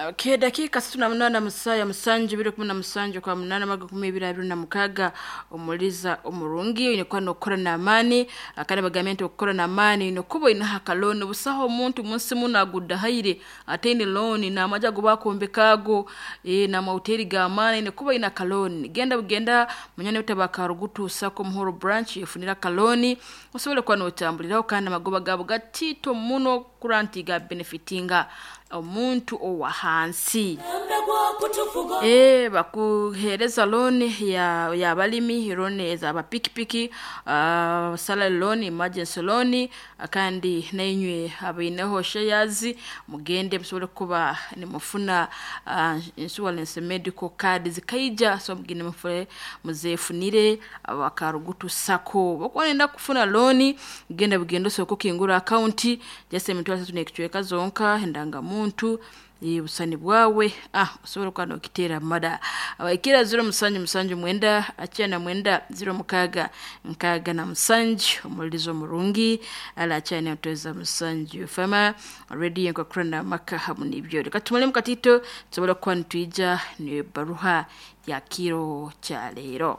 Okay, dakika 68 musaa ya musanju 217 kwa munana maga 2026 omuliza omurungi oine kuba nokukora n'amaani. Kandi bagambye nti okukora n'amaani nokuba oineho akalooni. Busaho omuntu munsi muno agudahaire ataine looni, n'amaju agu bakombeka ago, n'amahoteri g'amaani oine kuba oine akalooni. Genda bugenda munywani waitu aba Karugutu Sacco Muhoro branch ofunire akalooni osobole kuba notambuliraho, kandi amagoba gaabo gatiito muno kurora nti gabenefitinga omuntu owa hansi. Bakuheereza looni y'abalimi, looni ez'abapikipiki, salary loan, emergency loan, kandi nainywe abaineho shares mugende musobole kuba nimufuna insurance medical card zikaija, so mugende mufune muzefunire aba Karugutu Sacco. Bwokuba noyenda kufuna looni genda bugende osooke okingure akawunti just 31 zonka, endangamuntu, obusani bwawe, osobole kuba nokiteera mada. Abahikire 0779 99 06 67 omulizo omurungi ala akyane Musanju FM radio enkukurana amaka hamu n'ibyo. Reka tumale mukatito tusobole kuba nitwija n'ebaruha ya kiro kya leero.